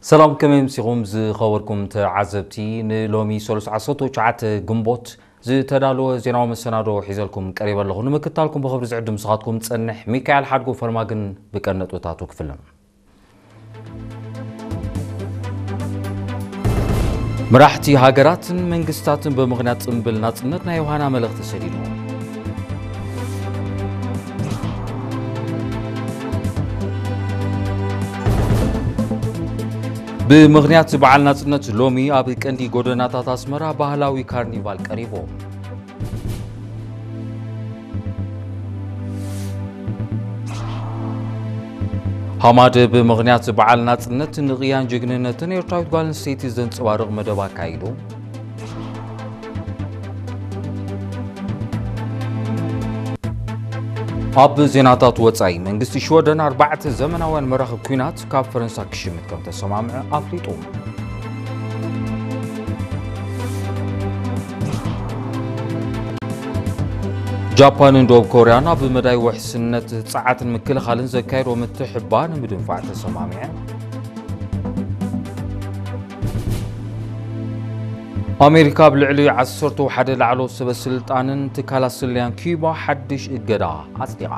ሰላም፣ ከመይ ኣምሲኹም ዝኸበርኩም ተዓዘብቲ? ንሎሚ ሰሉስ ዓሰርተ ትሽዓተ ግንቦት ዝተዳለወ ዜናዊ መሰናዶ ሒዘልኩም ቀሪበ ኣለኹ። ንምክታልኩም ብኽብሪ ዝዕድም ንስኻትኩም ጸንሕ ሚካኤል ሓድጉ ፈርማግን ብቀን ነጥብታቱ ክፍልን። መራሕቲ ሃገራትን መንግስታትን ብምኽንያት ጽምብል ናጽነት ናይ ዮሃና መልእኽቲ ሰዲዶም። ብምኽንያት በዓል ናጽነት ሎሚ ኣብ ቀንዲ ጎደናታት ኣስመራ ባህላዊ ካርኒቫል ቀሪቦም። ሃማደ ብምኽንያት በዓል ናጽነት ንቕያን ጅግንነትን ኤርትራዊት ጓል ኣንስተይቲ ዘንጸባርቕ መደብ ኣካይዱ። ኣብ ዜናታት ወጻኢ፣ መንግስቲ ሽወደን ኣርባዕተ ዘመናውያን መራኽብ ኲናት ካብ ፈረንሳ ክሽምት ከም ተሰማምዐ ኣፍሊጡ። ጃፓንን ደቡብ ኮርያን ኣብ መዳይ ውሕስነት ጸዓትን ምክልኻልን ዘካየዶ ምትሕብባር ንምድንፋዕ ተሰማሚዐን። ኣሜሪካ ኣብ ልዕሊ ዓሰርተ ሓደ ላዕለዎት ሰበ ስልጣንን ትካላት ስለያን ኪዩባ ሓድሽ እገዳ ኣጽዲቓ።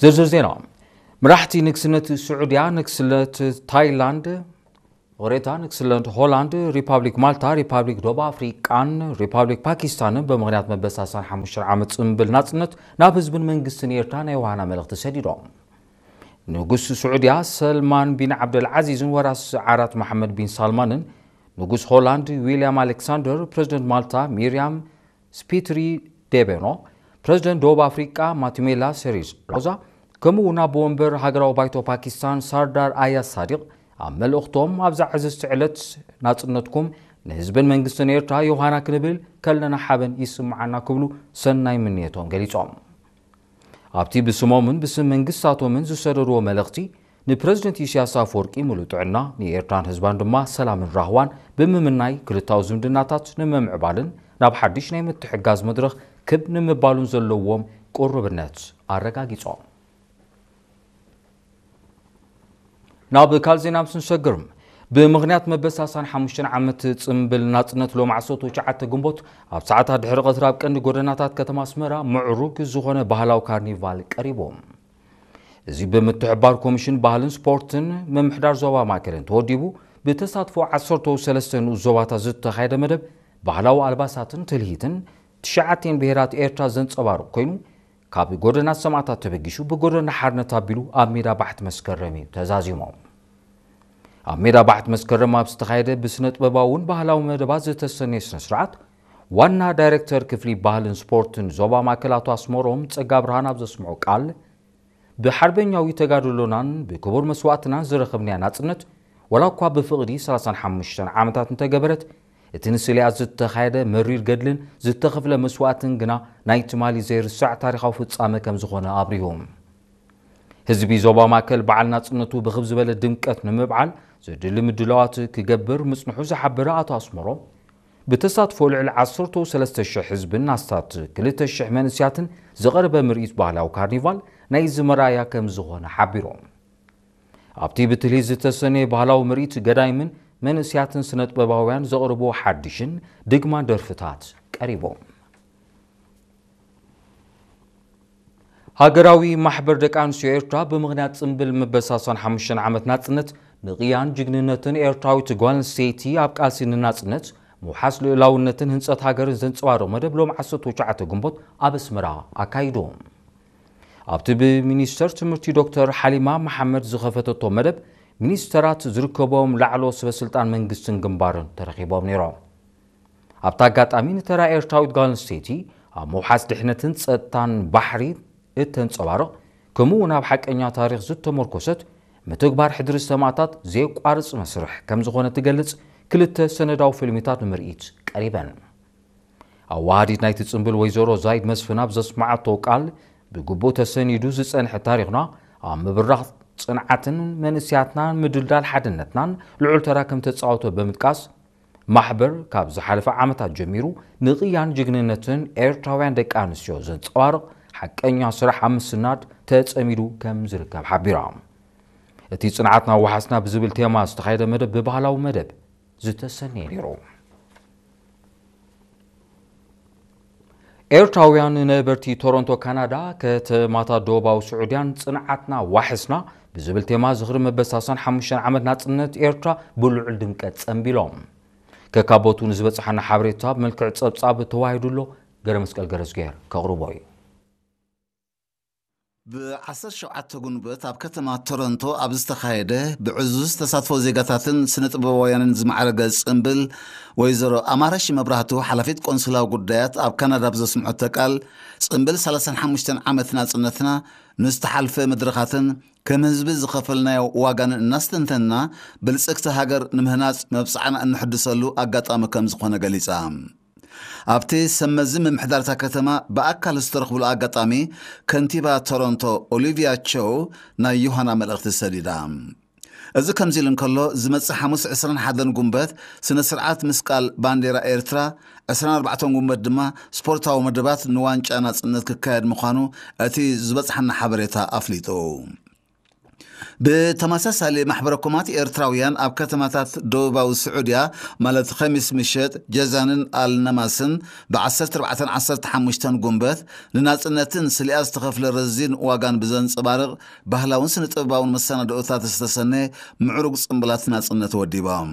ዝርዝር ዜና። መራሕቲ ንግስነት ስዑድያ፣ ንግስነት ታይላንድ፣ ይቕሬታ፣ ንግስነት ሆላንድ፣ ሪፓብሊክ ማልታ፣ ሪፓብሊክ ደቡብ ኣፍሪቃን ሪፓብሊክ ፓኪስታንን ብምኽንያት መበሳሳን ሓሙሽተ ዓመት ጽምብል ናጽነት ናብ ህዝብን መንግስትን ኤርትራ ናይ ዮሃና መልእኽቲ ሰዲዶም። ንጉስ ስዑድያ ሰልማን ቢን ዓብደልዓዚዝን ወራስ ዓራት መሓመድ ቢን ሳልማንን፣ ንጉስ ሆላንድ ዊልያም ኣሌክሳንደር፣ ፕረዚደንት ማልታ ሚርያም ስፒትሪ ዴቤኖ፣ ፕረዚደንት ደቡብ ኣፍሪቃ ማቲሜላ ሴሪስ ራማፎዛ፣ ከምኡ እውን ኣቦ ወንበር ሃገራዊ ባይቶ ፓኪስታን ሳርዳር ኣያዝ ሳዲቅ ኣብ መልእኽቶም፣ ኣብዛ ዕዝዝቲ ዕለት ናጽነትኩም ንህዝብን መንግስትን ኤርትራ ዮሃና ክንብል ከለና ሓበን ይስምዓና ክብሉ ሰናይ ምንየቶም ገሊጾም። ኣብቲ ብስሞምን ብስም መንግስታቶምን ዝሰደድዎ መልእኽቲ፣ ንፕረዚደንት ኢሳያስ ኣፈወርቂ ምሉእ ጥዕና፣ ንኤርትራን ህዝባን ድማ ሰላምን ራህዋን ብምምናይ፣ ክልታዊ ዝምድናታት ንምምዕባልን ናብ ሓድሽ ናይ ምትሕግጋዝ መድረኽ ክብ ንምባሉን ዘለዎም ቁርብነት ኣረጋጊጾም። ናብ ካልእ ዜና ምስ ንሰግር፣ ብምኽንያት መበሳሳን ሓሙሽተ ዓመት ጽምብል ናጽነት ሎም ዓሰርተ ትሽዓተ ግንቦት ኣብ ሰዓታት ድሕሪ ቀትሪ ኣብ ቀንዲ ጎደናታት ከተማ ኣስመራ ምዕሩግ ዝኾነ ባህላዊ ካርኒቫል ቀሪቡ። እዚ ብምትሕብባር ኮሚሽን ባህልን ስፖርትን ምምሕዳር ዞባ ማእከልን ተወዲቡ፣ ብተሳትፎ ዓሰርተ ሰለስተ ንኡስ ዞባታት ዝተኻየደ መደብ ባህላዊ ኣልባሳትን ትልሂትን ትሽዓቲኤን ብሄራት ኤርትራ ዘንጸባርቕ ኮይኑ፣ ካብ ጎደና ሰማእታት ተበጊሱ ብጎደና ሓርነት ኣቢሉ ኣብ ሜዳ ባሕቲ መስከረም እዩ ተዛዚሙ። ኣብ ሜዳ ባሕቲ መስከረም ኣብ ዝተኻየደ ብስነ ጥበባውን ባህላዊ መደባት ዝተሰነየ ስነ ስርዓት፣ ዋና ዳይሬክተር ክፍሊ ባህልን ስፖርትን ዞባ ማእከል ኣቶ ኣስመሮም ጸጋ ብርሃን ኣብ ዘስምዖ ቃል፣ ብሓርበኛዊ ተጋድሎናን ብክቡር መስዋእትናን ዝረኸብናያ ናጽነት፣ ዋላ እኳ ብፍቕዲ ሰላሳን ሓሙሽተን ዓመታት እንተገበረት፣ እቲ ንስለያ ዝተኻየደ መሪር ገድልን ዝተኸፍለ መስዋእትን ግና ናይ ትማሊ ዘይርሳዕ ታሪኻዊ ፍጻመ ከም ዝኾነ ኣብሪሁ። ህዝቢ ዞባ ማእከል በዓል ናጽነቱ ብኽብ ዝበለ ድምቀት ንምብዓል ዘድሊ ምድላዋት ክገብር ምጽንሑ ዝሓበረ ኣቶ ኣስመሮም፣ ብተሳትፎ ልዕሊ ዓሰርተ ሰለስተ ሽሕ ህዝብን ኣስታት ክልተ ሽሕ መንእስያትን ዝቐረበ ምርኢት ባህላዊ ካርኒቫል ናይዚ መርኣያ ከም ዝኾነ ሓቢሮም። ኣብቲ ብትልሂት ዝተሰነየ ባህላዊ ምርኢት፣ ገዳይምን መንእስያትን ስነ ጥበባውያን ዘቕርብዎ ሓድሽን ድግማን ደርፍታት ቀሪቦም። ሃገራዊ ማሕበር ደቂ ኣንስትዮ ኤርትራ ብምኽንያት ጽምብል ምበሳሳን ሓሙሽተ ዓመት ናጽነት ንቕያን ጅግንነትን ኤርትራዊት ጓል ኣንስተይቲ ኣብ ቃልሲ ንናጽነት ምውሓስ ልኡላውነትን ህንጸት ሃገርን ዘንጸባርቕ መደብ ሎም ዓሰርተ ትሽዓተ ግንቦት ኣብ ኣስመራ ኣካይዱ። ኣብቲ ብሚኒስተር ትምህርቲ ዶክተር ሓሊማ መሓመድ ዝኸፈተቶ መደብ፣ ሚኒስተራት ዝርከቦም ላዕለዎት ሰበ ስልጣን መንግስትን ግንባርን ተረኺቦም ነይሮም። ኣብቲ ኣጋጣሚ ንተራ ኤርትራዊት ጓል ኣንስተይቲ ኣብ ምውሓስ ድሕነትን ጸጥታን ባሕሪ እተንጸባርቕ፣ ከምኡ እውን ኣብ ሓቀኛ ታሪኽ ዝተመርኮሰት ምትግባር ሕድሪ ሰማእታት ዘየቋርጽ መስርሕ ከም ዝኾነ ትገልጽ ክልተ ሰነዳዊ ፊልሚታት ንምርኢት ቀሪበን። ኣዋሃዲት ናይቲ ጽምብል ወይዘሮ ዛይድ መስፍን ኣብ ዘስመዓቶ ቃል፣ ብግቡእ ተሰኒዱ ዝጸንሐ ታሪኽና ኣብ ምብራኽ ጽንዓትን መንእስያትና ምድልዳል ሓድነትናን ልዑል ተራ ከም ተጻወተ ብምጥቃስ፣ ማሕበር ካብ ዝሓለፈ ዓመታት ጀሚሩ ንቕያን ጅግንነትን ኤርትራውያን ደቂ ኣንስትዮ ዘንጸባርቕ ሓቀኛ ስራሕ ኣብ ምስናድ ተጸሚዱ ከም ዝርከብ ሓቢራ። እቲ ጽንዓትና ወሓስና ብዝብል ቴማ ዝተኻየደ መደብ ብባህላዊ መደብ ዝተሰነየ ነይሩ። ኤርትራውያን ነበርቲ ቶሮንቶ ካናዳ፣ ከተማታት ደቡባዊ ስዑድያን ጽንዓትና ዋሕስና ብዝብል ቴማ ዝኽሪ መበል ሰላሳን ሓሙሽተን ዓመት ናጽነት ኤርትራ ብልዑል ድምቀት ጸንቢሎም። ከካቦቱ ንዝበጽሓና ሓበሬታ ብመልክዕ ጸብጻብ ተዋሂዱ ኣሎ። ገረ መስቀል ገረዝጌር ከቕርቦ እዩ። ብ ዓሰርተ ሸውዓተ ጉንበት ኣብ ከተማ ቶሮንቶ ኣብ ዝተኻየደ ብዕዙዝ ተሳትፎ ዜጋታትን ስነ ጥበባውያንን ዝማዕረገ ጽምብል፣ ወይዘሮ ኣማረሽ መብራህቱ፣ ሓላፊት ቆንስላዊ ጉዳያት ኣብ ካናዳ፣ ብዘስምዐቶ ቃል፣ ጽምብል ሰላሳን ሓሙሽተን ዓመት ናጽነትና ንዝተሓልፈ መድረኻትን ከም ህዝቢ ዝኸፈልናዮ ዋጋን እናስተንተንና፣ ብልጽግቲ ሃገር ንምህናጽ መብጽዓና እንሕድሰሉ ኣጋጣሚ ከም ዝኾነ ገሊጻ። ኣብቲ ሰብ መዚ ምምሕዳርታ ከተማ ብኣካል ዝተረኽብሉ ኣጋጣሚ፣ ከንቲባ ቶሮንቶ ኦሊቪያ ቸው ናይ ዮሃና መልእኽቲ ሰዲዳ። እዚ ከምዚ ኢሉ እንከሎ፣ ዝመጽእ ሓሙስ ዕስራን ሓደን ጉንበት ስነ ስርዓት ምስቃል ባንዴራ ኤርትራ፣ ዕስራን ኣርባዕተን ጉንበት ድማ ስፖርታዊ መደባት ንዋንጫ ናጽነት ክካየድ ምዃኑ እቲ ዝበጽሓና ሓበሬታ ኣፍሊጡ። ብተመሳሳሊ፣ ማሕበረ ኮማት ኤርትራውያን ኣብ ከተማታት ደቡባዊ ስዑድያ፣ ማለት ኸሚስ ምሸት ጀዛንን ኣልነማስን፣ ብ ዓሰርተ ኣርባዕተን ዓሰርተ ሓሙሽተን ጉንበት ንናጽነትን ስሊኣ ዝተኸፍለ ረዚን ዋጋን ብዘንጸባርቕ ባህላውን ስነ ጥበባውን መሰናድኦታት ዝተሰነየ ምዕሩግ ጽምብላት ናጽነት ወዲቦም።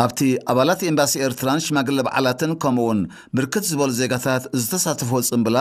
ኣብቲ ኣባላት ኤምባሲ ኤርትራን ሽማግለ በዓላትን ከምኡውን ብርክት ዝበሉ ዜጋታት ዝተሳተፍዎ ጽምብላት